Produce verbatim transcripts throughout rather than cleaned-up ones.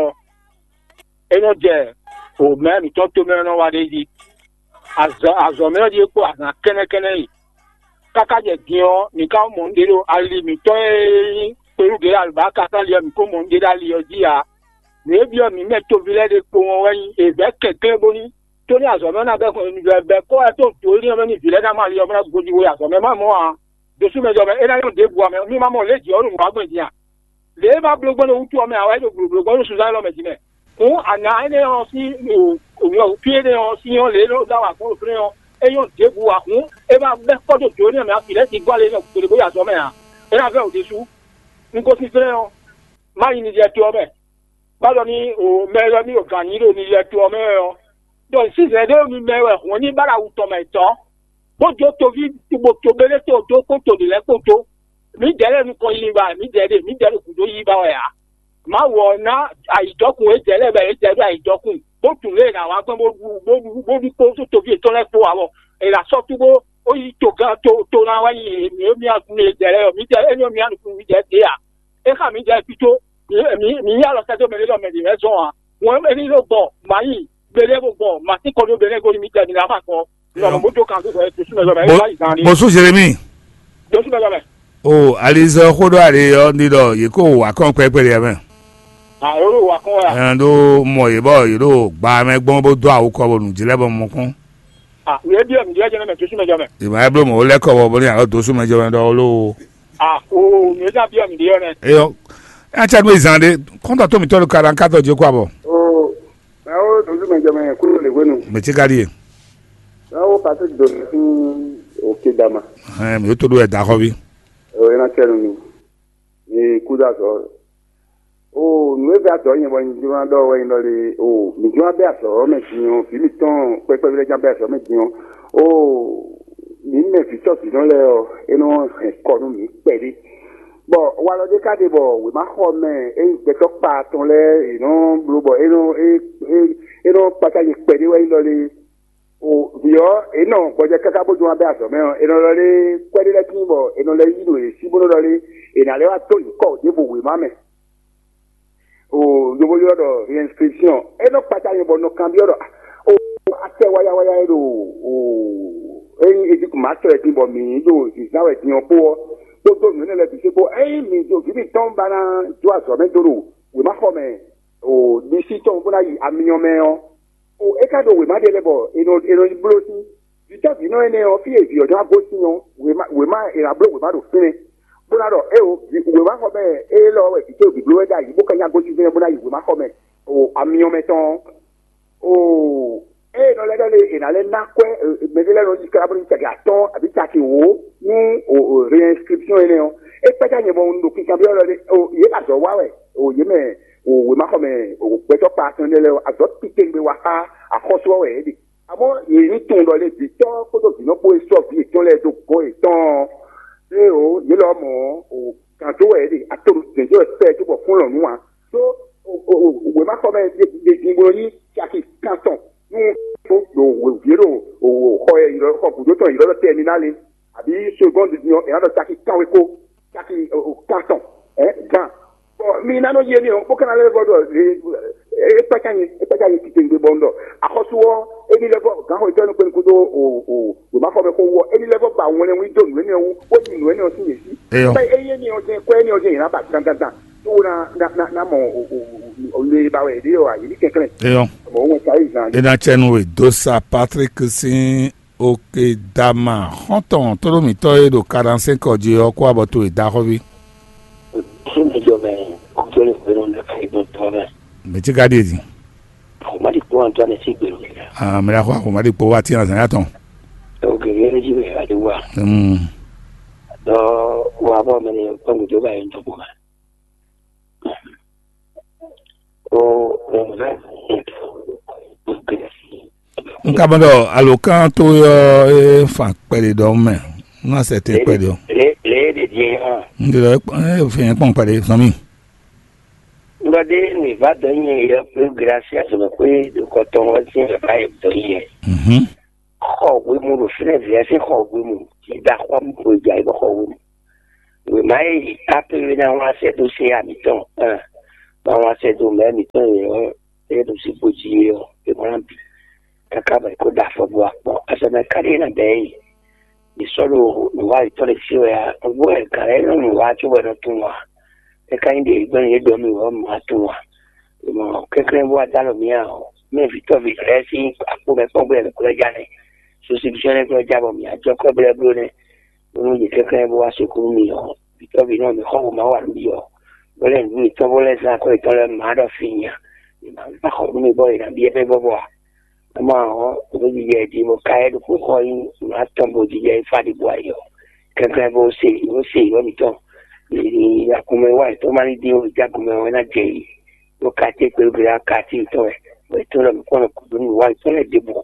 ɔ́, é nɔ jɛ o mɛ mǐtɔn tomɛ ɔ́ nɔ wa ɖ'é jí. Azɔ̌ azɔ̌ mɛ ɔ́ ɖíe kpó azǎn kɛ́nɛ́kɛ́nɛ́ e. Káká jɛ din ɔ́, mǐ ka mɔ nǔɖé ɖo ali mǐtɔn e nyí kpeyígbe alubáka sín ali ɔ́, mǐ ko mɔ nǔɖé ɖo ali ɔ́ jí ǎ. Nǔ e byɔ́ mǐ mɛ toví lɛ́ɛ ɖe kpowun ɔ́ wɛ nyí è vɛ̌ kɛnklɛ́n bónú tónú azɔ̌ mɛ ɔ́ ná bɛ́ bɛ́ kó wɛ tó dǒ énɛ́ ɔ́ mɛ nú vǐ lɛ́ɛ ná mɔ ali ɔ́ bó ná gojí wó yi azɔ̌ mɛ má mɔ ǎ. Dosú mɛ jɔ mɛ é ná nyɔ́ ɖěbǔ ǎ mɛ, mí ma mɔ lě jǐ ɔ́ ɖo nǔ wa gbɔn din a? Lě e ma bló gbɔn ɖo wútu ɔ́ mɛ ǎ wɛ é ɖo blǒbló gbɔn ɖo sunzán élɔ́ mɛ din mɛ. Hǔn ana énɛ́ ɔ́ sín fí énɛ́ ɔ́ sín ɔ́ lě e nɔ ɖó awǎ gbɔn ɖo fínɛ́ ɔ́, é nyɔ́ ɖěbǔ ǎ. Hǔn é ma bɛ́ kpɔ́ dó jǒ énɛ́ mɛ afǐ lɛ́ɛ sin gbɔ lě nɔ gbeɖé bó yi azɔ̌ mɛ ǎ. É ná vɛ́ wǔ ɖésú. Un gosín fínɛ́ ɔ́, má yi Nizɛ́ɛ to ɔ́ mɛ. Má ɖɔ ní o mɛ e ɖɔ ní o gǎn nyí ɖo Nizɛ́ɛ to ɔ́ mɛ wɛ ɔ́, ɖɔ sísɛ́n ɖé mi mɛ wɛ hɔn ní ba ɖo awu tɔn mɛ tɔn, bó jó toví bo to bélé to dó kpó to ɖě lɛ́ɛ kpó dó. Mǐdɛɛ lɛ́ɛ nukɔn yi ba, mǐdɛɛ ɖe mǐdɛɛ ɖo gǔdo yi ba wɛ ǎ. Mawu ɔ́ ná ayǐjɔkun édɛɛ lɛ́ɛ bɔ édɛɛ ɖo ayǐjɔkun, bó tunwun lě e è nǎ wá gbɔn bó ɖu bó ɖu bó ɖu kpó toví yětɔn lɛ́ɛ kpó ǎ bɔ è nǎ sɔ́ tú bó ó yi togán to to ná wá yi mǐ mǐ mǐdɛɛ lɛ́ɛ ɔ́, mǐdɛɛ énɛ́ mǐ nukún mǐdɛɛ ɖě ǎ. É xa mǐdɛɛ fító, mǐ mǐ yí alɔ sɛ́ dó mɛ ɖé ɖɔ mɛ ɖě wɛ zɔn ǎ. Hwɛ̌n éní ɖo gbɔ, mǎ yi, gbeɖé bó gbɔ, mǎ sí kɔ ɖó beɖé goni mǐ jɛ mǐ ná ma kɔ. Lɔ bó jó kan tó sɔ é tosú mɛ lɔ mɛ é wá yi zan ní. Bosú Jérémie. Tosú mɛ lɔ mɛ. O alizɔ xó ɖó ali ɔ́ ní ɖɔ yě kó wǎ kɔn kpɛkpɛ ɖe mɛ. Àròrò wà kɔn wà. Ɛn ɖó mɔ yě bɔ yě ɖo gba mɛ gbɔn bó dó awu kɔ bó nǔ jí lɛ́ bɔ mɔ kpɔn. Ah, yě bí ɔ̀mí jẹ́ jẹ́ mɛ tosú mɛ jọ mɛ. Ìmọ̀ ɛ bló mɔ ó lɛ́ kɔ bɔ bó ní àlọ́ dosú mɛ jɔ mɛ ɖɔ ó ló. Ah, o mi ná bí ɔ̀mí ɖe ɔ̀nɛ. Eyɔ, ɛ cɛ nú ìzàn ɖe kɔntɔ tó mi tɔ́ ló ka ɖan kátó jẹ kó abɔ. O mɛ ó dodú mɛ jɔ mɛ kúrò lè hwenu. Mɛ tí ka ɖíe. Mɛ ó Patrick Dona sín òkè dama. Ɛn mi ó tó ɖó ɛ da xɔ bí. O ẹ ná cɛ nu mi. Mi kú dá zɔ. O nǔ e vɛ azɔ nyɛ bɔ nyɛ jló ná ɖɔ wɛ nyɛ ɖɔ le o mi jló ná bɛ azɔ mɛ din ɔ vǐ mitɔn kpɛkpɛ lɛ ján bɛ azɔ mɛ din ɔ o mi mɛ vǐ tɔ́ vǐnɔ lɛ ɔ é nɔ hɛn kɔ nú mi kpɛɖé. Bɔ walɔ ɖé ka ɖe bɔ wěmaxɔ mɛ é nyí gbɛtɔ́ kpa tɔn lɛ́ɛ è nɔ bló bɔ é nɔ é é é nɔ kpácá nyɛ kpɛɖé wɛ nyɛ ɖɔ le o vǐ ɔ́ è nɔ gbɔjɛ káká bó jɔ wá bɛ azɔ mɛ ɔ è nɔ lɔ lé kwɛ́ ɖé lɛ́ɛ tíin bɔ è nɔ lɛ́ yí ɖo yě sí bó nɔ lɔ lé è nǎ lɛ́ wá dó nyǐkɔ ɖěvo wěma mɛ. O yovo ylɔ́ ɖɔ réinscription é nɔ kpata nyɛ bɔ nɔ kanbyɔ́ ɖɔ o atɛ wáyáwáyá e ɖo o ényí Egypt má tɔ ɛ din bɔ mǐ ɖo zǐzán wɛ din ɔ́ kpó ɔ́ kpódó nǔ énɛ́ lɛ́ɛ bǐ kpó ényí mǐ ɖo vǐ mǐtɔn ba ná jó azɔ̌ mɛ dó ɖo wěmaxɔ mɛ o ɖisí tɔn bó ná yi amyɔ mɛ ɔ́, o é ka ɖo wěma ɖé lɛ́ɛ bɔ è nɔ è nɔ yi bló sín. Vǐtɔ́ vǐnɔ énɛ́ ɔ́, fí e vǐ ɔ́ ná gosín ɔ́, wěma wěma è nǎ bló wěma ɖo fínɛ́, bó ná ɖɔ éeǒ, wěmaxɔmɛ élɔ́ wɛ vǐ towe bǐ bló wɛ ɖ'ayǐ bó ka nya gosín fínɛ́ bó ná yi wěmaxɔmɛ o amyɔ mɛ tɔn ɔ́. O ée nɔ lɛ́ ɖɔ lé è nǎ lɛ́ ná kwɛ́ mɛɖé lɛ́ɛ nɔ yi kára bó ní caki atɔ́ɔ́n abǐ caki wǒ nú réinscription énɛ́ ɔ́, é kpɛ́ ká nyɛ bɔ un ɖo kinkanbyɔ́ ɖɔ lé o yě ɖo azɔ̌ wa wɛ o yě mɛ o wěmaxɔmɛ o gbɛtɔ́ kpa atɔn énɛ́ lɛ́ɛ ɔ́, azɔ̌ titewungbe wa xá axɔ́sú ɔ́ wɛ yě ɖe. Amɔ̌ yě ní tunwun ɖɔ lé vǐtɔ́ kpódó vǐnɔ kpó e sɔ́ vǐ yětɔn lɛ́ɛ dó gɔ̌ yětɔn ɔ́, éeǒ, yě lɔ mɔ̌ ɔ́, gǎn dó wɛ yě ɖe, ato ɖo dɛ̌n dó wɛ pɛ́ cóbɔ fún lɔ̌nú ǎ. Ɖó wěmaxɔmɛ ɖe din bó nɔ nyí caki kan tɔn nú ɖo wěvǐ ɖo xɔ e xɔ gǔdo tɔn ylɔ́ ɖɔ tɛminálé, abǐ segɔ́ndu din ɔ́, è nǎ ɖɔ caki kanweko, caki kan tɔn, gan. Bɔ mi ná nɔ yi émí ɔ́, bó ka ná lɛ́ vɔ ɖɔ é kpácá nyi é kpácá nyi titewungbe bɔ un ɖɔ axɔ́sú ɔ́, émí lɛ́ vɔ gǎnxɔ yětɔn nukpɛ́nukún dó wěmaxɔmɛ xó wú ɔ́, émí lɛ́ vɔ ba wɛnlɛ́nwí dó nǔ énɛ́ wú, bó yi nǔ énɛ́ ɔ́ sín yě sí. Bɔ éyɛ́ ní ɔ́ jɛ́n kwɛ́ énɛ́ ɔ́ jɛ́n yě ná ba dandandan, tó ná ná ná mɔ le ba wɛ yě ɖe ɔ́, yě ní kɛnklɛ́n. Eyɔ. Mɔ̌ wɛn ka yí zan. É ná cɛ nú we dó sa Patrick sín Okedama xɔ́ntɔn tlóló mǐtɔn e ɖo Kadansɛ́nkɔ jí ɔ́ kó abɔ towe da xɔ́ví. Fún mi jɔ mɛ kótó lè gbénu lè fún igun tɔn mɛ. Mɛ tí ka ɖíe din. Àwọn má di kpó Antoine sí gbèrú mi rẹ. Ah, mɛ la xɔ àwọn má di kpó wá tí azan yá tɔn. Ó gèrè yẹn jí bẹ adé wà. Hmm. Dɔ wà bọ mẹ ni kpɔn gbèdé wà yẹn tó kó ma. Ó ó vẹ. N ka mɔ ɖɔ alokán tó yɔ é fan kpɛɖe ɖɔ mɛ. N ma sɛ te kpɛɖe o. Lé lé ɖe die hã. N ɖe ɖɔ é fɛn kpɔn kpɛɖe sɔn mi. Ŋgɔdé mi va dɔ nyɛ yɔ pé gracia sɔmɛ pé ɖo kɔtɔn wɛ sí ɛ va yɛ dɔ nyɛ. Mhm. Xɔ wemu ɖo fínɛ via sí xɔ wemu. Ìgbà xɔ mi kò dza yìí bɔ xɔ wemu. Wema yìí apé wé ná wá sɛ tó sé àmì tɔn. Báwa sɛ́ dó mɛ̌ mǐtɔn e ɔ́, é ɖo sín xo jí é ɔ́, é ma ná bǐ káká bɔ è kó ɖo afɔ bó wá kpɔ́n. Azɔ̌ mɛ ká ɖíe ná bɛ̌ yě. Yě sɔ́ ɖo nǔwa yětɔn ɖé sí wɛ ǎ. Nǔgbó wɛ gǎn lɛ́ɛ nɔ nǔwa cóbɔ è nɔ tunwun ǎ. É ka nyí ɖě gbɛ́ yě ɖɔ mì wɛ ɔ́, mǐ ma tunwun ǎ. È mɔ kɛnklɛ́n bó wá dó alɔ mǐ ǎ ɔ́, mɛ vǐtɔ́ví lɛ́ɛ sín akpo mɛ kpɔ́n gbé wɛ mǐ ko lɛ́ ja nɛ́. Sosipisɔ́n lɛ́ɛ ko lɛ́ ja bɔ mǐ á jɔ kɔ́ blɛ́bló nɛ́. Bónú yě kɛnklɛ́n bó wá sukúlu mì ɔ́, vǐtɔ́ví nɔ mǐ xɔ wǒ ma wa nǔ byɔ́, bó lɛ́ nǔ yětɔn bó lɛ́ zán akɔ́ yětɔn lɛ́ɛ má ɖɔ fí nya, yě má va xɔ nú mì bɔ yě ná byɔ́ mɛ vɔ́vɔ́ ǎ. É ma ɔ́, nǔ jijɛ jí bó ka yɛ ɖokpó xɔ nyí nǔ atɔn bó jijɛ yi fá ɖi bó ayɔ. Kɛnklɛ́n bó se yǒ se yǒ mǐtɔn. Akumɛ wa yětɔn má ní dín ó, jákumɛ ɔ́ ná jɛ yi. Bó ka tí kpelú kpelú aka tí yětɔn wɛ, bɔ yětɔn lɔ mǐ kpɔ́n nɔ kúdú nú wa yětɔn lɛ́ɛ ɖěbǔ.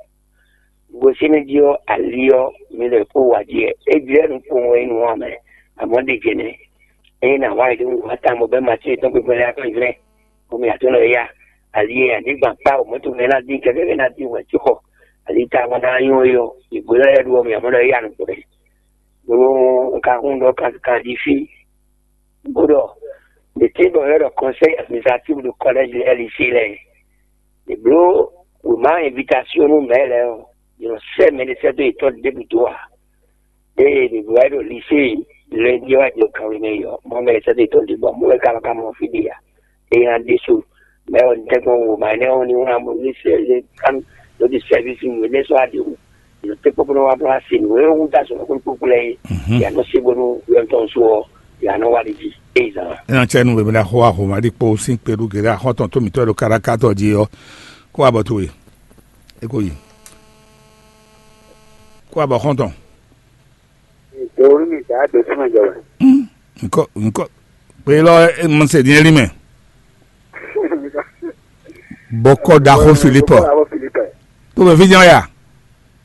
Gosín jí ɔ́, ali ɔ́, mi lɛ kó wá jí wɛ. É jlɛ́ nukpowun wɛ é nǔ wa mɛ, amɔ̌ ɖe jɛ nɛ́. Ényí nǎ wa yi ɖó nǔ wa tawun bɔ bɛ́ matín yětɔn kpekpe lɛ́ɛ akɔ́njlɛ́, bɔ mi atɔ́ nɔ ya. Ali e anyǐgban kpá o mɔ̌ tɔn mɛ ná dín kɛkɛ ná dín wɛ cóxɔ. Ali ta wọn ná nyɔ́ é ɔ́, ìgbó lɛ́ɛ ɖu ɔ́, mi amɔ̌ nɔ ya nukpó ɖɛ. Bónú un ka hún ɖɔ kankan jí fí, bó ɖɔ, ɖě tɛ́ bɔ è ɖɔ conseil administratif ɖo collège lɛ́ɛ lycée lɛ́ɛ. È bló wěma invitation nú mɛ̌ lɛ́ɛ ɔ́, è nɔ sɛ́ mɛ ɖé sɛ́ dó yětɔn ɖěbǔ dó ǎ. Ée mǐ bló wá ɖo lycée lundi wá jɛ kanwe mɛ yi ɔ́, mɔ mɛ sɛ́ dó yětɔn ɖěbǔ ɔ́, mɔ wɛ ka nɔ ka mɔ fí ɖé ǎ. Eye nya ɖésú mɛ ɔ́, un tɛ́nkpɔ́n wěma énɛ́ ɔ́ ní wlán bónú ní sɛ́ ló ɖi sɛ́vísi nǔ énɛ́ sɔ́ aɖě wú. È nɔ tɛ́nkpɔ́n bó nɔ wá bló wá se nǔ e wú dó azɔ̌ kpókpó lɛ́ɛ é. Mhm. Yǎ nɔ se bónú yɔ́ntɔn sú ɔ́, yǎ nɔ wá ɖi jí. Ée zǎn. É ná cɛ nú wěma xó ahoma ɖi kpó sín kpeɖú gěɖé axɔ́tɔn tó mǐtɔn e ɖo kárákátɔ jí ɔ́, kó abɔ towe. É ko yi. Kó abɔ xɔ́ntɔn. Dòwú mi dǎ dǒ súnmọ́ jɔ wɛ. Nkɔ nkɔ pé lɔ mɔ se diɛ li mɛ. Bɔkɔ ɖaxó Filipɔ. Bɔkɔ ɖaxó Filipɔ. Tó bɛ fi jɛn ya.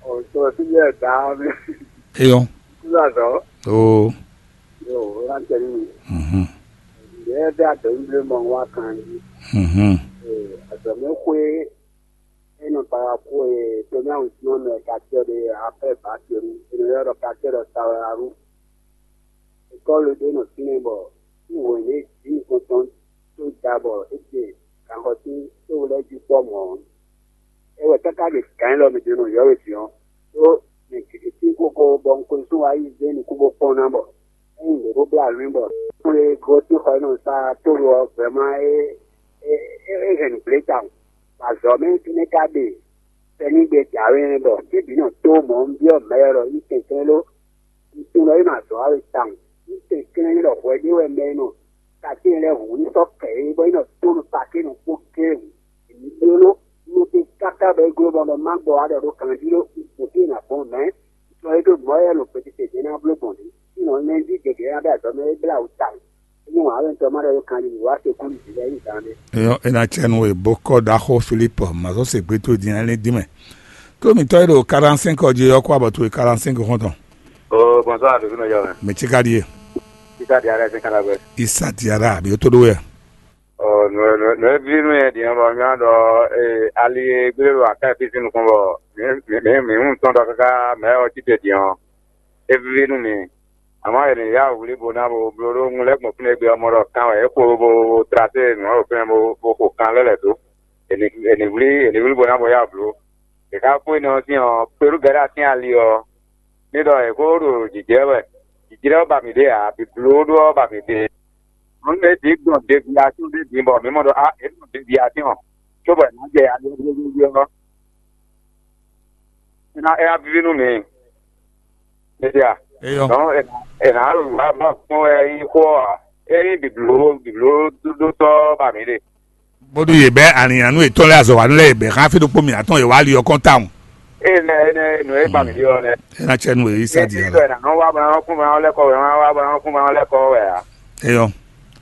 Ɔ tó bɛ fi jɛn da mi. Eyɔ. Kúló azɔ. Oo. Yo, o la tɛ ni. Mhm. Yɛ bɛ adɔ mi blé mɔ wa kan yi. Mhm. Ee, azɔ mi xwe. E nɔ para kú e tɔnyáwǔ tɔn mɛ kacɛ ɖe afɛ ba tenu e nɔ ylɔ́ ɖɔ kacɛ ɖɔ Sawayaru. Ekɔ́lu ɖé nɔ fínɛ́ bɔ wěwé jí nukɔntɔn tó da bɔ é ɖe ganxɔtín tó lɛ́ jí kpɔ́ mɔ̌. É wɛ káká ɖe gǎn élɔ́ mɛ ɖě nɔ yɔ́ wě din ɔ́, ɖó mɛ gěgé tín kókó bɔ un ko sú wá yi zé nukún bó kpɔ́n ná bɔ é nyí nǔɖé bó blá nǔ bɔ xwlé gosín xɔ e nɔ sa tólu ɔ́ gbɛmlá é é é hɛn nǔgblé tawun. Bɔ azɔ̌ mɛ fínɛ́ ka ɖe sɛ́nígbe jǎwe nɛ́ bɔ fí bǐ nɔ tó mɔ̌ un byɔ́ mɛ lɔ ɖɔ yí kɛnklɛ́n ɖó un tunwun ɖɔ é nɔ azɔ̌ wa we tawun. Un kɛnklɛ́n ɖɔ hwɛ ɖé wɛ mɛ e nɔ tatín lɛ́ɛ hǔn ní sɔ́ kɛ é bɔ é nɔ tó nú pakí nɔ kpó géé hǔn. Èmi bló nú ɖé káká bɔ é gló bɔ má gbɔ wá ɖɔ ɖó kanjí ɖó un kpǒ fí e nǎ gbɔn mɛ̌. Sɔ é ɖó mɔ̌ yɛ ɖo gbětete jɛ́n ná bló gbɔn ɖě. Sínɔ lɛ́njí gěgé ná bɛ azɔ̌ mɛ é blá wǔ tawun. Ényí wǎn wɛ un tɔ má ɖɔ ɖó kanjí wá se kú nǔ jí lɛ́ɛ nyí dan ɖé. Eyɔn é ná cɛ nú we bó kɔ ɖaxó Filip mazɔ se gbé tó din ɛlɛ dín mɛ. Tó mǐtɔn e ɖo quarante-cinq ɔ́ jí ɔ́ kó abɔ towe quarante-cinq xɔ́ntɔn. O bɔnsɔ́ àdó fínɔ yɔ mɛ. Mɛ tí ka ɖíe. Títà di ara ẹsẹ̀ kára bẹ́ẹ̀. Isa diara àbí ó tó ɖó wɛ. Ɔ nǔ nǔ nǔ e ví nú yɛ din ɔ́ bɔ nyɔ́ ɖɔ ee ali e gbé ɖo aká e fí sín nukɔn bɔ mǐ mǐ mǐ mǐ mú tɔn ɖɔ káká mɛ ɔ́ cí te din ɔ́, é víví nú mì. Àmọ́ è nǐ yá wǔ wlí bo ná bo bló ɖó un lɛ́ gbɔn fínɛ́ gbe ɔ́ mɔ ɖɔ kan wɛ é kpo bo bo trasé nǔ ɔ́ ɖo fínɛ́ bo bo xo kan lɛ́ lɛ̌ dó. È nǐ è nǐ wlí è nǐ wlí bo ná bo yá wǔ bló. È ka kpó énɛ́ ɔ́ sín ɔ́, kpelú gɛ̌ ɖo atín ali ɔ́, ní ɖɔ è ko ɖo jǐjlɛ́ wɛ. Jǐjlɛ́ ɔ́ ba mǐ ɖe ǎ, bǐblóɖó ɔ́ ba mǐ ɖe. Mɔ̌ mɛ bǐ gbɔn degbia tún ɖé bǐ bɔ mǐ mɔ ɖɔ á è nɔ degbia tɔn cóbɔ è nǎ jɛ ali ɔ́ ɔ́. É ná é ná víví nú mǐ. Mɛdia. Eyɔ. Dɔn è nǎ wá bá kpɔn wɛ yí xó ɔ́ ǎ. É nyí bǐbló bǐblóɖótɔ́ ba mǐ ɖe. Bódú yě bɛ́ alǐnnyánú yětɔn lɛ́ɛ azɔ̌wanú lɛ́ɛ yě bɛ́ xá fí ɖokpó mǐ atɔn yě wá ali ɔ́ kɔn tawun. Ée nɛ énɛ́ nǔ e ba mǐ ɖe ɔ́ nɛ́. É ná cɛ nú we yí sá di Ée ɔ́. Ée nɔ wá bɔ ná kún bɔ ná lɛ́ kɔ wɛ, ná wá bɔ ná kún bɔ ná lɛ́ kɔ wɛ ǎ. Eyɔ.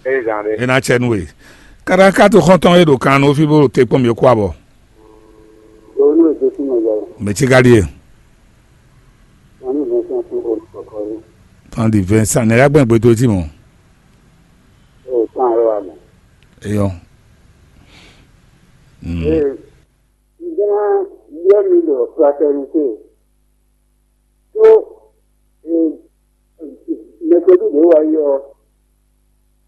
Ée zǎn ɖé. É ná cɛ nú we. Káɖá ká to xɔ́ntɔn e ɖo kan nú fí bó ɖo te kpɔ́n mǐ kú abɔ. Owó ní èdè fún mi lọ. Mɛ tí ká ɖíe. Wọn ní ìwé fún fún olùkọ́kọ́ rí. Tán di Vincent ní lágbọ́n ìgbé tó tì mọ́. Ó tán àárọ̀ wa mọ̀. Eyɔ. Mm. Ee, ǹjẹ́ máa yọ mi lọ fraternité? Tó, ee, mẹsẹ̀dúdé wa yọ.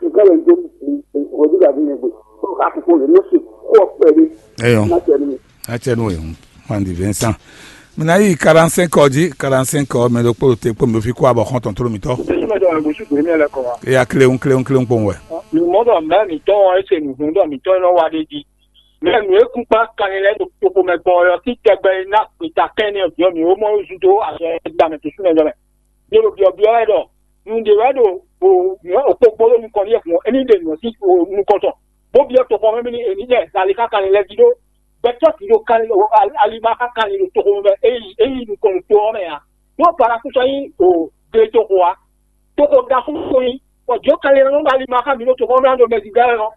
Kɛkɛ lɛ do wòdu gàdí yẹn gbe. Kó ká kókó lè ló sì kó ọpẹ dé. Eyɔn. Má tẹ ní. Atsɛ nu ehu. Mandi Vincent. Mina yi quarante-cinq ɔ dzi, quarante-cinq ɔ mɛ ɖokpó ɖo te kpó mi ɖo fí kó abɔ xɔ́ntɔn tló mitɔ. Jésù mɛ ɖɔ ŋgosú gbé mi lɛ kɔ wa. Eya kléwún kléwún kléwún kpowun wɛ. Mi mɔ ɖɔ mɛ mitɔn ɔ́ ese nǔ hun ɖɔ mitɔn e nɔ wa ɖe jí. Mɛ nǔ e kún kpá kanlin lɛ́ɛ ɖo toxo mɛ gbɔn ɔ́ sí tɛgbɛ e ná gbeta kɛn n'i ɔ́ bǐ ɔ́, mǐ ó mɔ yó zú dó azɔn e gba mɛ ɖésú mɛ jɔ mɛ. Ɖě ɖo byɔ̌byɔ́ wɛ ɖɔ nǔɖé wɛ ɖo wǒ nyɔ̌ okpokpo ɖo nukɔn n'i wɛ hǔn é ní ɖe nǔ ɔ́ sín nukɔn tɔn, bó byɔ́ toxo ɔ́ mɛ bónú è ní jɛ ali xá kanlin lɛ́ɛ jí ɖó gbɛtɔ́ bǐ ɖo kanlin ali ma xá kanlin ɖo toxo mɛ é yi é yi nukɔn ɖo to ɔ́ mɛ ǎ. Ɖó Balaku sɔ́ nyí o gletoxo ǎ. Toxo ɖaxó ko nyí, bɔ jǒ kanlin ɔ́ nɔ ɖo ali ma xá mǐ ɖo toxo ɔ́ mɛ ɖo mɛ zǐngán ɔ́.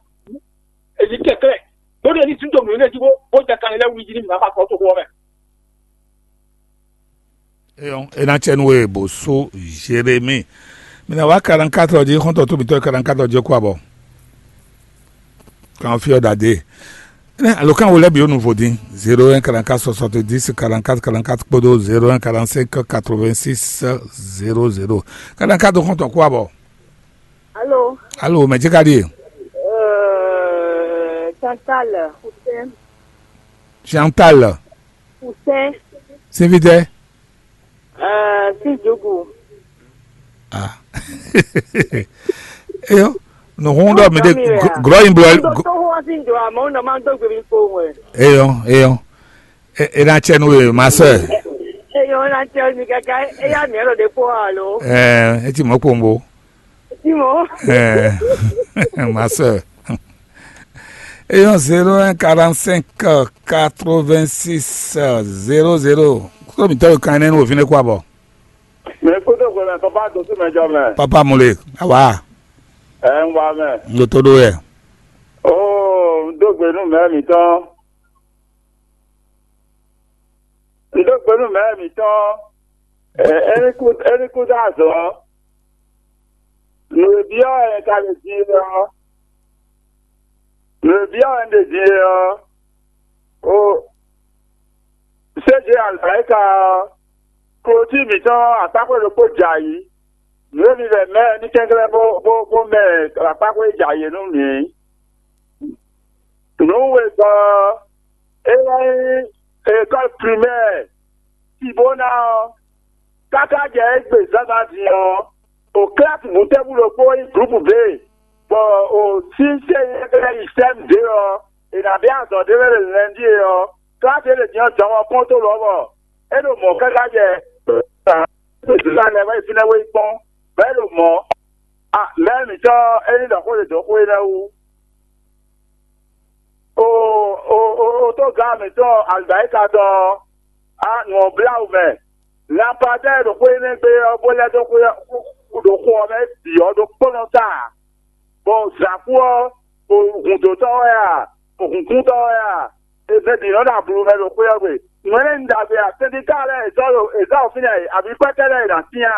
Èyí kɛ̀kẹ́ bó ɖe ní tún dó nǔ énɛ́ jí bó bó jɛ kanlin lɛ́ɛ wlí jí ní mǐ ná xɔ akɔ toxo ɔ́ mɛ. Eyɔn, e ná cɛ nú we bó sú Jérémi. Mi ná wá quarante-quatre jí xɔ́ntɔn tó mitɔ́ quarante-quatre jí kó abɔ. Kan fí ɔ́ ɖadé. Alo kan wo lɛ́ bǐ ó nu vodín zéro un quarante-quatre soixante-dix quarante-quatre quarante-quatre kpódó zéro un quarante-cinq quatre-vingt-six zéro zéro. Quarante-quatre xɔ́ntɔn kó abɔ. Alo, Alo, mɛ jí ka ɖíe? Euh, Chantal, Hussein, Chantal, Hussein, Sivitɛ. Euh, Sijogo. Ah. Eyɔ, nùhún ɖɔ mi ɖe Ọmọ mi rẹ̀ à? Glɔ yin blɔ. Tó tó wọ́n sí ìjọ àmọ́ ó nà máa ń dógbè mi kó wẹ̀. Eyɔ, eyɔ. E, e ná cɛ nú we, ma sœur. Eyɔ, ó nà cɛ mi kaka, eya mi ɛlɔ ɖe kpó alo. Ɛɛ, e ti mɔ kpombo. Ti mɔ. Ɛɛ, ma sœur. Eyɔn zéro un quarante-cinq quatre-vingt-six zéro zéro. Kó mi tɔ́ kan ne nu òfin kó abɔ. Mɛ kpódó hwemɛ papa dó sí mɛ jɔ mɛ. Papa Mole, awa. Ɛ ń wa mɛ. N ɖo tó ɖó yɛ. Oo, n dó gbe nú mɛ mǐtɔn. N dó gbe nú mɛ mǐtɔn. Ɛ, é ní kú é ní kú dó azɔ̌. Nǔ e byɔ́ wɛ ka lè din é ɔ́, nǔ e byɔ́ wɛ un ɖe din é ɔ́, o séje alɔ̌yíká ɔ́, klotí mǐtɔn akpákpɛ́ ɖokpó jɛ ayǐ. Nǔ e mi lɛ mɛ ní kɛnklɛ́n bó bó bó mɛ akpákpɛ́ jɛ ayǐ nú mǐ. Nǔ wegɔ́ ɔ́, é wɛ nyí école primaire Tibona ɔ́, káká jɛ égbé zǎnzǎn din ɔ́, o kílási bǔtɛ́bú ɖokpó nyí gǔrúpu B, bɔ o sínsɛ́n e lɛ́ yi sɛ́m dě ɔ́, è nǎ bɛ́ azɔ̌ ɖé lɛ́ɛ ɖo lɛndíe ɔ́, kílási e ɖe din ɔ́ jɔhɔn kpɔ́n tó lɔ̌ bɔ é ɖo mɔ̌ káká jɛ zǎnzǎn lɛ́ɛ wɛ fínɛ́ wé yi kpɔ́n, bɔ é ɖo mɔ̌. A mɛ̌ mǐtɔn ɔ́, é ní ɖɔ xó ɖé dó xó énɛ́ wú. O o o o tógǎn mǐtɔn Alibáyíka tɔn ɔ́, a nǔ ɔ́ blá wǔ mɛ. Lanpadɛ́ɛ ɖo xó énɛ́ gbe ɔ́, bó lɛ́ dó xó ɔ́ ɖo xó ɔ́ mɛ bǐ ɔ́ ɖokpónɔ ta, bɔ zǎkú ɔ́, o hǔndótɔ́ wɛ a, o hǔnkúntɔ́ wɛ a, è mɛ bǐ nɔ ɖo ablu mɛ ɖo xwé ɔ́ gbe. Nǔ énɛ́ nyí ɖagbe a? Sɛndika lɛ́ɛ è zɔ́ ɖo è zɔ́ ɖo fínɛ́ e, abǐ kpɛ́tɛ́ lɛ́ɛ è nǎ syɛ́n a?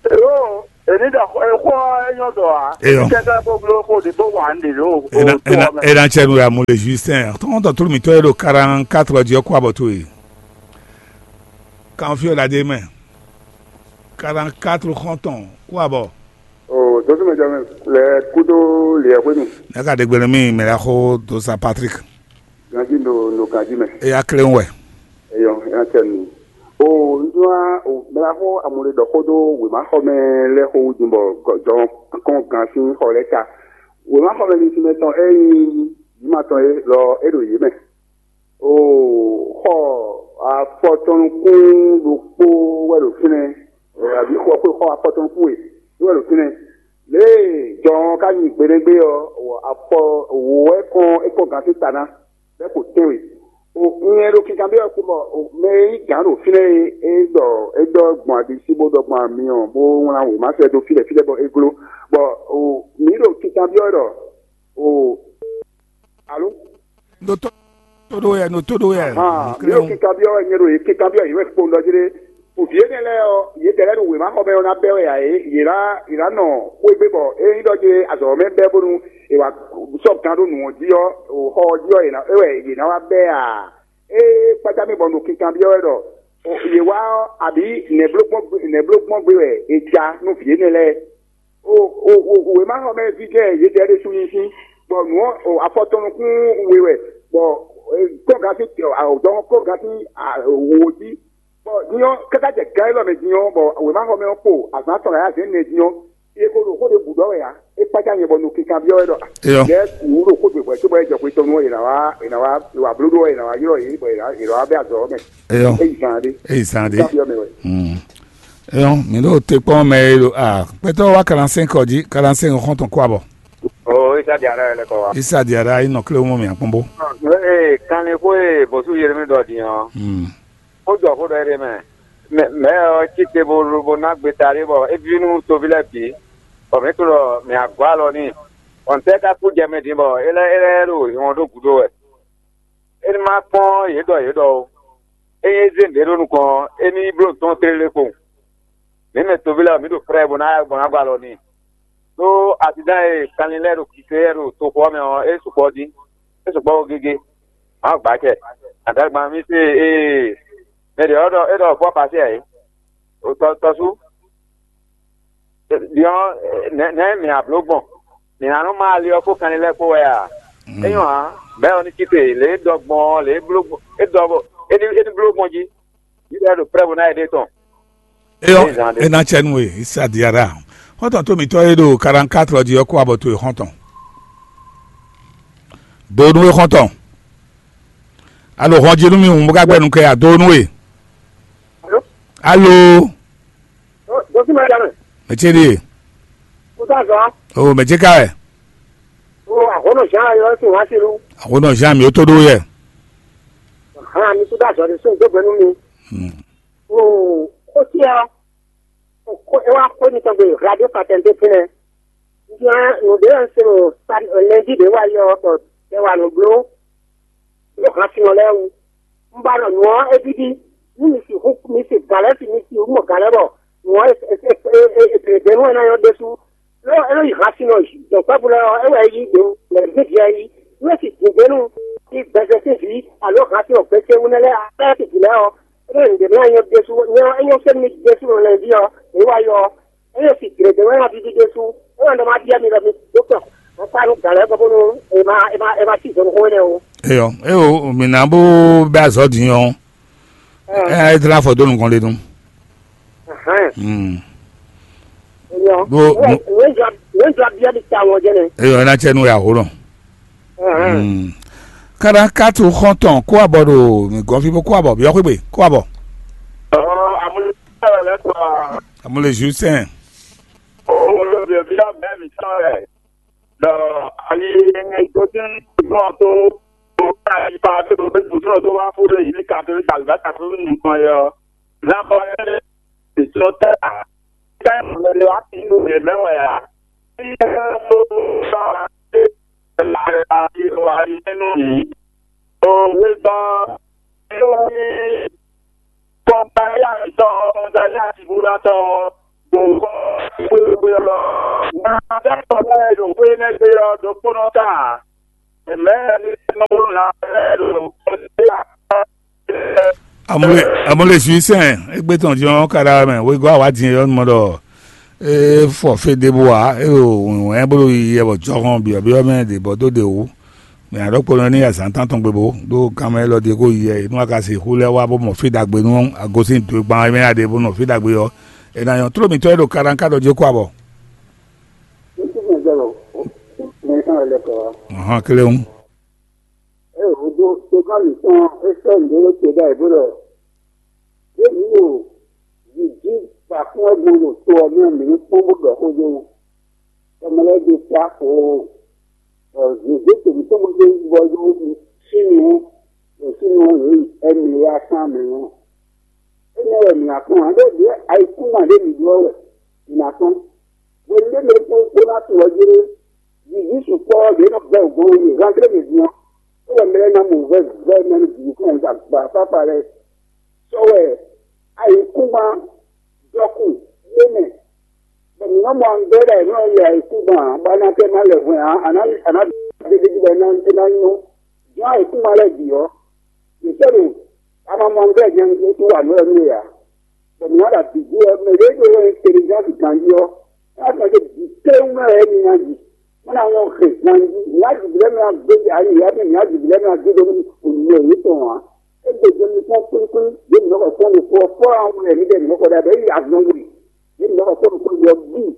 Eo, èní ɖɔ xó ɔ́ é nyɔ́ dɔ ǎ. Eyɔ. Kɛ́kɛ́ bó bló xó ɖé bó wa nǔ ɖě ɖo. Ena ena ena tsɛ nu ya mo le Justin. Tɔntɔn tulu mitɔ ye ɖo quarante quatre ɔ́ jí ɔ́ kó abɔ towe. Kan fi ɔ́ la dé mɛ. Quarante quatre xɔntɔn kó abɔ. O dɔtí mɛ jɔmɛ lɛ kúdó liɛ xwénu. Ne ka ɖe gbe nú mì mɛ la xó do sa Patrick. Ganjí ɖo ɖo ganjí mɛ. Eya kle wɛ. Eyɔ, eya tɛ nu. O nzɔa o mɛla xó amúle ɖɔ xó ɖó wěmaxɔmɛ lɛ́ɛ xó wú din bɔ jɔn kɔn gan sín xɔ lɛ́ɛ ta. Wěmaxɔmɛ ní sín mɛ tɔn é nyí yǐma tɔn é lɔ é ɖo yě mɛ. O xɔ afɔtɔnukún ɖokpó wɛ ɖo fínɛ́, abǐ xɔ xɔ afɔtɔnukún e wɛ ɖo fínɛ́. Lě e jɔn ɔ́ ka nyi gbeɖégbé ɔ́, afɔ wǒ wɛ kɔn é kɔn gan sín ta ná. Bɛ́ xo tɛ́nwe. O un nyɛ ɖo kinkanbyɔ́ wɛ kpɔ́n bɔ mɛ e nyí gǎn ɖo fínɛ́ e é ɖɔ é ɖɔ gbɔn aɖisí bó ɖɔ gbɔn amyɔ bó wlán wěma sɛ́ dó fí ɖɛ fí ɖɛ bɔ é gló. Bɔ o mǐ ɖo kinkanbyɔ́ wɛ ɖɔ o alo. Ɖo tó ɖó yɛ, ɖo tó ɖó yɛ. Hàn mǐ ɖo kinkanbyɔ́ wɛ nyɛ ɖo yě kinkanbyɔ́ yě wɛ kpowun ɖɔ jlé. Vǐ énɛ́ lɛ́ɛ ɔ́, yě dɛ lɛ́ɛ ɖo wěma xɔ mɛ ɔ́ ná bɛ́ wɛ ǎ é, yě ná yě ná nɔ xwé gbé bɔ é nyí ɖɔ jlé azɔ̌ mɛ bɛ́ bónú è wǎ sɔ́ gan ɖó nǔ ɔ́ jí ɔ́, xɔ ɔ́ jí ɔ́, è nǎ é wɛ yě ná wá bɛ́ ǎ. Ée kpácá mì bɔ ɖo kinkanbyɔ́ wɛ ɖɔ yě wá ɔ́, abǐ nɛ̌ bló gbɔn gbé nɛ̌ bló gbɔn gbé wɛ è ja nú vǐ énɛ́ lɛ́ɛ? O o o wěmaxɔmɛví jɛ́n yědɛɛ ɖésú nyí sín, bɔ nǔ ɔ́ o afɔtɔn nukún we wɛ, bɔ kɔ́gǎn sín dɔ̌nkɔ́ kɔ́gǎn sín wo jí, bɔ din ɔ́ káká jɛ gan élɔ́ mɛ din ɔ́, bɔ wěmaxɔmɛ ɔ́ kpo azǎn atɔn ɖo ayǎ zɛ̌n nɛ din ɔ́, é ko ɖo xó ɖěbǔ ɖɔ wɛ ǎ. É kpácá nyɛ bɔ un ɖo kinkanbyɔ́ wɛ ɖɔ Eyɔ. Lɛ́ɛ wǔ ɖo xó ɖě hwɛ̌ cóbɔ é jɛ xwe tɔn nú ɔ́, è nǎ wá è nǎ wá wa blóɖó ɔ́, è nǎ wá ylɔ́ yě bɔ è nǎ è nǎ wá bɛ́ azɔ̌ ɔ́ mɛ. Eyɔ. É yi zan ɖé. É yi zan ɖé. Kanbyɔ́ mɛ wɛ. Mm. Eyɔ, mǐ ɖo te kpɔ́n mɛ e ɖo a kpɛtɔ́ wá quarante-cinq ɔ́ jí, quarante-cinq xɔ́ntɔn kó abɔ. O isa di ara yɛ lɛ kɔ wa. Isa di ara yi nɔ kle mɔ mì akpɔn bó. Ee kanlin xó e bɔsú yɛrɛ mi dɔ din ɔ́. Mm. Ó jɔ xó ɖɔ é ɖe mɛ. Mɛ mɛ ɔ́ cí te bo bo ná gbe ta ɖé bɔ é ví nú toví lɛ́ɛ bǐ. Bɔ mǐ tunɔ mǐ agɔ́ alɔ n'i. Ɔ̀ntɛ́ ka kú jɛ mɛ din bɔ é lɛ́ é lɛ́ ɖo hɔn ɖó gǔdo wɛ. É ní má kpɔ́n yě ɖɔ yě ɖɔ ó. Ényí é zé nǔɖé ɖó nukɔn ɔ́, é ní yi bló nǔ tɔn tlélé kpowun. Mǐ mɛ toví lɛ́ɛ ɔ́, mǐ ɖo prɛ́ɛ bó ná bó ná gɔ́ alɔ n'i. Ɖó asidán e kanlin lɛ́ɛ ɖo kikle lɛ́ɛ ɖo toxo ɔ́ mɛ ɔ́, é sukpɔ́ dín, é sukpɔ́ ó gégé. Mǎ gbǎ acɛ. Adǎgban mì se ee mɛ ɖě ɔ́ ɖɔ é ɖɔ fɔ́ pasí ǎ é. Tɔ́sú, Diɔ nɛ̌ nɛ̌ mǐ a bló gbɔn? Mǐ ná nɔ má ali ɔ́ kpó kanlin lɛ́ɛ kpó wɛ a? É nyɔ́ ǎ, bɛ́ ɔ́ ní cí te lě e ɖɔ gbɔn ɔ́, lě e bló gbɔn é ɖɔ é ní é ní bló gbɔn jí. Yídɛɛ ɖo prɛ́ bó ná yi ɖe tɔn. Eyɔ, Ezan ɖe. Ena tsɛ nú we, isa diara. Xɔ́ntɔn tó mǐtɔn e ɖo quarante-quatre ɔ́ jí ɔ́ kó abɔ towe xɔ́ntɔn. Do nú we xɔ́ntɔn. Alo hɔn jí nú mi hǔn bó ka gbɛ nu kɛ ya do nú we. Alo. Alo. Dɔtí ma jamɛ. Mɛ ce ɖie. Kó sá zɔ. O mɛ ce ka wɛ. O àhónɔ Jean ayɔ sí wá sí lu. Àhónɔ Jean mi ó tó ɖó yɛ. Hàn mi tó dá zɔ ní sún gbẹgbẹ nú mi. Hmm. O ó tí a. Ó é wá kó ní tɔn gbé radio patente fínɛ. Nya nǔɖé ɔ́ se ɖo lɛndí ɖé wá yɔ bɔ tɛ wà nǔ bló. Ɖó hǎn sinɔ lɛ́ɛ wú. Un ba ɖɔ nǔ ɔ́ é víví. Nú mi sixú mi se gǎn lɛ́ɛ fi mi si mɔ gǎn lɛ́ɛ bɔ nǔ ɔ́ è è è è è è è nú ɛ ná nyɔ́ ɖésú. Lɔ é nɔ yi hǎn sin nɔ dɔ̌nkpɛ́vú lɛ́ɛ ɔ́, é wɛ é yí ɖě lɛ̌ gbígbí ɛ yí. Nú é si dǐngbénu ní gbɛzɛ sín vǐ alo hǎn sin nɔ gbɛsɛ́wú nɛ́ lɛ́ɛ lɛ́ɛ sin vǐ lɛ́ɛ ɔ́, é nɔ yi nǔɖé mlá nyɔ́ ɖésú nyɔ́ é nyɔ́ sɛ́ nú mi ɖésú nɔ lɛ́ɛ ví ɔ́, é wá yɔ ɔ́. Eye si gěgé wɛ ná víví ɖésú, é wɛ ɖɔ má byɔ́ mi ɖɔ mi dó kpɔ́n, bó kpá nú gǎn lɛ́ɛ gbɔ bónú è ma è ma è ma cí zɔnxó énɛ́ ó. Eyɔ, eo, mǐ ná bó bɛ́ azɔ̌ din ɔ́, ɛ ɛ dlá afɔ dó nukɔn lé nú. Ahán. Hmm. Eyɔ, Bó- wɛ bó- wɛ jɔ wɛ jɔ byɔ́ mi ta wɔ jɛnɛ. Eyɔ, é ná tsɛ nú ya hó nɔ. Ahán. Hmm. Kada katu xɔntɔn kó abɔ ɖo gɔnfí bó kó abɔ byɔ́ xwé gbe kó abɔ. Ɔɔ, amúlé lɛ sɔ. Amúlé Justin. Olóògbé bí ọ̀bẹ mi sọ rẹ̀ lọ ayé tó ti ń gbọ́n tó tó ká ipa tó tó tó tó tó wá fún lè yí ká tó ká lùbá ká tó nìkan yọ. Lábọ̀ ẹ̀ ètò tẹ́ à ká ìmọ̀lẹ́ wá sí ìlú rẹ̀ mẹ́wàá yà. Bí ẹ tó sọ àti ìwà nínú yìí. Òwe gan-an ló ní kọ́ńtà yà ń tọ́ kọ́ńtà yà ti búra tọ́. xwéxwé ɔ́, nya lɛ́ɛ tɔn lɛ́ɛ ɖo xwé énɛ́ gbe ɔ́ ɖokpónɔ ta ǎ. Mɛ̌ nɔ wló nya lɛ́ɛ ɖo xwé ɔ́? Amule amule sui sɛn egbe tɔn jɔn ka ɖa mɛ wegɔ́ awa din yɔ mɔ ɖɔ e fɔ fé ɖěbǔ ǎ, e ɖo wɛ̌nwɛ́n bó ɖo yiyi wɛ bɔ jɔhɔn byɔ̌byɔ́ mɛ ɖě bɔ dó ɖě wú. Mɛ aɖɔkponɔ ní azǎn tántɔn gbe bó ɖó kanmɛ élɔ́ ɖíe kó yi yɛ nú a ka sixú lɛ́ wá bó mɔ fí ɖagbe nú agosín dwe gban mɛ a ɖe bó nɔ fí ɖagbe ɔ́, è nǎ nyɔ́. Tló mǐtɔn e ɖo kaɖankadɔ jí kó abɔ. Ŋutsu mɛ zɔlɔ mɛ tɔn lɛ kɔ. Hɔn kléwún. Eye hǔndó togán mǐtɔn é sɔ́ nǔɖé ɖó te ɖ'ayǐ bó ɖɔ: "Yě mǐ ɖo vǐ jí gbakún wɛ gbɔn ɖo to ɔ́ mɛ, mǐ ní kpɔ́n bó ɖɔ xó dó wú." Tɔmɛ lɛ́ɛ ɖo ta xoo, bɔ zězé tɔn mǐtɔn mɔ ɖó bɔ ɖó sínu ɔ́, ɖo sínu ɔ́, yě yi ɛmɛ yá sán mɛ ɔ́. Énɛ́ wɛ mǐ ná kpɔ́n ǎ, ɖó ɖě ayikúngban ɖě mǐ ɖó ɔ́ wɛ mǐ ná kpɔ́n. Hwenu ɖé mɛ ɖokpó ná tunwun ɔ́ jlé, vǐví sukpɔ́ ɔ́, ɖě nɔ gbɛ́ wǔ gbɔn wú nyi Vandré mɛ din ɔ́, é wɛ mɛ lɛ́ɛ ná mɔ vɛ́vɛ́ mɛ nú vǐví kɔn ɖagba fáfa lɛ́ɛ. Sɔ́ wɛ ayǐkúngban dɔkun ɖé mɛ, bɔ mǐ nɔ́ mɔ angbɛ́ ɖɔ è nɔ́ lɛ ayǐkúngban ǎ, bɔ a nɔ ka ná lɛ hwɛ̌n ǎ, a nǎ a nǎ ɖe ɖ'é jí bɔ é ná é ná nyɔ́. Jɔ́n ayǐkúngban lɛ́ɛ bǐ ɔ́, mǐ sɔ́ ɖo amamɔnglɛ́ nyɛ un tunwun wǎ nú wɛ nú we ǎ. Bɔ mǐ ná ɖo abǐ jí wɛ, mɛ ɖě ɖó wɛ intelligence ganjí ɔ́, é wá tunwun ɖɔ bǐ kléwún mɛ wɛ mi ná yi. Má ná nyɔ́ hɛn ganjí, mǐ ná jǐ lɛ́ɛ mɛ ná gbé ayǐ yá mɛ, mǐ ná jǐ lɛ́ɛ mɛ ná gbé dó nú nǔ yětɔn ǎ. É gbe do mi kpɔ́n kwlíkwlí, yě mǐ nɔ xɔ kpɔ́n ɖo kɔ ɔ́, fɔ́ ɔ́ wɛ mǐdɛɛ mǐ nɔ xɔ ɖa bɔ é yi azɔn gbe. Yě mǐ nɔ xɔ kpɔ́n ɖo kɔ ɔ́ bíi.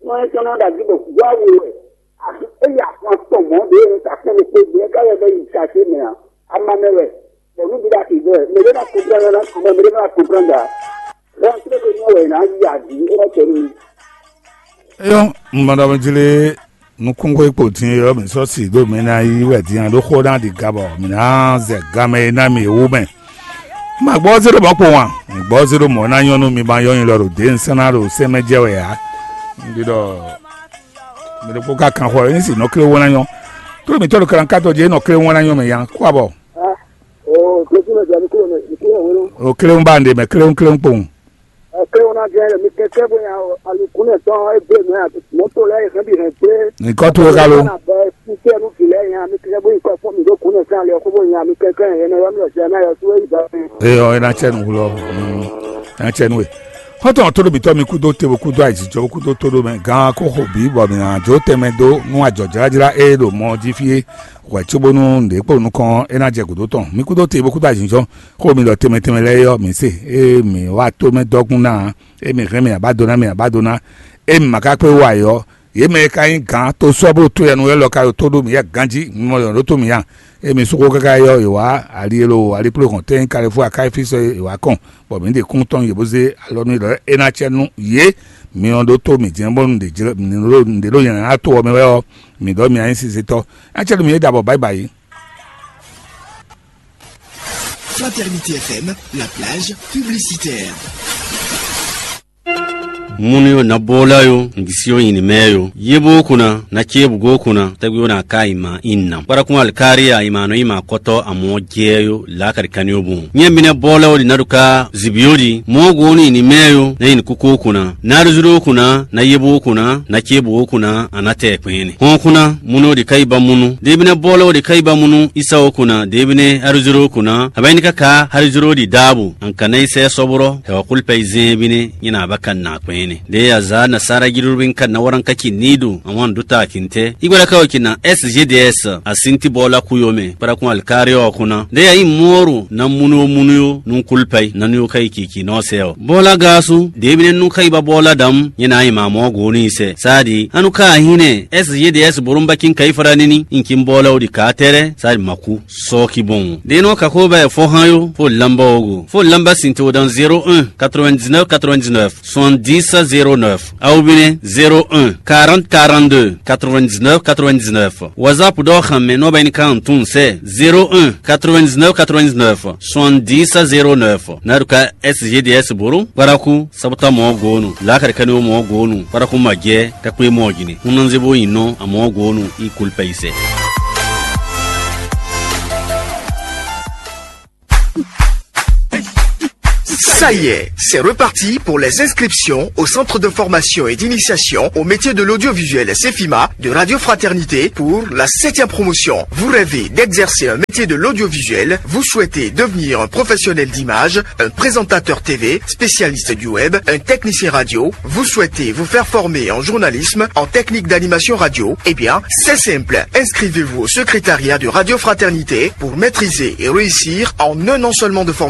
Nú é ka nɔ ɖo agí bɔ wá we wɛ, axi é yi ahwan tɔn mɔ̌ ɖě e un ka kpɔ́n ɖokpó gbé, é ka lɛ́ vɛ́ yi sase mɛ ǎ. Ama mɛ wɛ, bɔ nǔ bǐ ɖo axi vɛ wɛ. Mɛ ɖé ná kɔnplán ná kɔn, mɛ ɖé ná kɔnplán ɖa. Lɛ́ntrégbe nɔ wɛ è nǎ yi aɖǐ, é nɔ tɛ nú mi. Eyɔ́, un mɔ ɖɔ mi jlé nukúnxwé kpo din e ɔ́, mǐ sɔ́ si ɖó mǐ ná yí wɛ din ǎ, ɖó xó ná ɖi ga bɔ mǐ ná zɛ ganmɛ e ná mǐ wú mɛ. Ma gbɔ zé ɖo mɔ̌ kpowun a? Mi gbɔ zé ɖo mɔ̌ ná nyɔ́ nú mi ma nyɔ́ nyi lɔ ɖo dě un sɛ́n ná ɖo sɛ́n mɛ jɛ wɛ ǎ. Un ɖi ɖɔ mi ɖokpó ka kan xɔ é si nɔ klé wó ná nyɔ́. Tló mǐtɔn ɖo kalankáto jí é nɔ klé wó ná nyɔ́ mɛ ya kó abɔ. Ah, oh, Jésus mɛ jɛ mi kúrò mɛ, mi kúrò wéró. O klé wó ba un ɖe mɛ klé wó klé wó kpowun. Ɛ klé wó ná jɛ mi kɛkɛ bó nya alukúnɛ tɔn é gbé mɛ mɔtò lɛ é hɛn bi hɛn gbé. Nìkɔ tó ka ló. Bɛ fúkẹ́ nú gǐlẹ́ nya mi kɛkɛ bó yi kɔ fún mi ɖó kúnɛ sán lɛ kó bó nya mi kɛkɛ yẹn nɔ yɔ mi lɔ jɛ náà yɔ sú é yi ba mi. Eyɔ é ná tsɛ nu wulɔ. É ná tsɛ nu we. Xɔ́ntɔn tó ɖo mǐtɔn mi kúdó te bo kúdó ayǐjijɔ bo kúdó tó ɖó mɛ gán kó xo bǐ bɔ mǐ ná jó tɛnmɛ dó nú ajɔ̌jlájlá e ɖo mɔ jí fí é hwɛ̌ cóbónú nǔɖé kpo nukɔn é ná jɛ gǔdo tɔn. Mi kúdó te bo kúdó ayǐjijɔ xó mi ɖɔ tɛnmɛ tɛnmɛ lɛ́ɛ é ɔ́, mǐ se. Ée mǐ wá tó mɛ dɔ́gún ná ǎ, ée mǐ hɛn mì abádo ná mì abádo ná, ée mǐ ma ka kpé wá yě ɔ́, yě mɛ e ka nyí gǎn tosɔ́ bó to yɛnu élɔ́ ka ɖo tó ɖó mǐ yɛ ganjí, mi mɔ yɔ̌ ɖó tó mǐ a? Ée mi sú xó káká yi ɔ́, è wǎ ali e ɖo alikpléhɔn tɛ́ nyí Kalifú akáyífísɔ e è wǎ kɔn, bɔ mǐ ɖe kún tɔn yě bó zé alɔ nú yě ɖɔ é ná acɛ nú yě. Mi ɔ́ ɖótó mǐ jɛ́n bónú nǔɖé ɖó nyɛ ná to ɔ́ mɛ wɛ ɔ́, mǐ ɖɔ mi ná nyí sinsɛntɔ́. É ná acɛ nú mi é ɖa bɔ bǎyibǎyi. Fraternité F M, la plage publicitaire. Munu yo na bola yo, ngisi yo yini mɛ yo. Yebo kuna, na chebu go kuna, tagwi yo na ka ima inam. Para kun alkari ya ima no ima koto amo je yo, la kari kani yo bun. Nye mine bola yo di naduka zibi yo di, mo go ni ini mɛ yo, na ini kuko kuna. Na duzuro kuna, na yebo kuna, na chebu kuna, anate kpene. Hon kuna, munu yo di kaiba munu. Debine bola yo di kaiba munu, isa yo kuna, debine duzuro kuna. Abaini kaka duzuro di dabu. An kana ise sobro, he wa kulpa izin bine, nyina abaka na kpene. De ya za na sara jirubin kan na waran kaki nidu, an wan duta kinte. Igwara kawo kina S G D S, a sinti bola kuyome, para kun alkari o kuna. De ya yi moru na munu o munu yo, nun kulpa i, na nu yo kai kiki no se o. Bola gasu, debine nun kaiba bola dam, nyina ima mo goni se. Sadi, anu ka hine, S G D S borumba kin kai fara nini, in kin bola o di ka tere, sadi maku. Sɔki bon. Deno kako bɛ fo han yo, fo lamba ogo. Fo lamba sinto dans zéro un, quatre-vingt-dix-neuf, quatre-vingt-dix-neuf, soixante-dix, zéro neuf. Aw bine zéro un, quarante, quarante-deux, quatre-vingt-dix-neuf, quatre-vingt-dix-neuf. WhatsApp dɔ xan mɛ nɔ bɛ ni kan tun sɛ zéro un, quatre-vingt-dix-neuf, quatre-vingt-dix-neuf, soixante-dix, zéro neuf. Naruka S G D S boro, paraku, sabuta mɔ gonu, lakari kani mɔ gonu, paraku ma jɛ, kakwe mɔ jini. Unanze bo yin nɔ, a mɔ gonu, i kulpa i sɛ. Ça y est, c'est reparti pour les inscriptions au Centre de formation et d'initiation au métier de l'audiovisuel, CEFIMA, de Radio Fraternité pour la septième promotion. Vous rêvez d'exercer un métier de l'audiovisuel, vous souhaitez devenir un professionnel d'image, un présentateur T V, spécialiste du web, un technicien radio, vous souhaitez vous faire former en journalisme, en technique d'animation radio, eh bien, c'est simple. Inscrivez-vous au secrétariat de Radio Fraternité pour maîtriser et réussir en un an seulement de formation.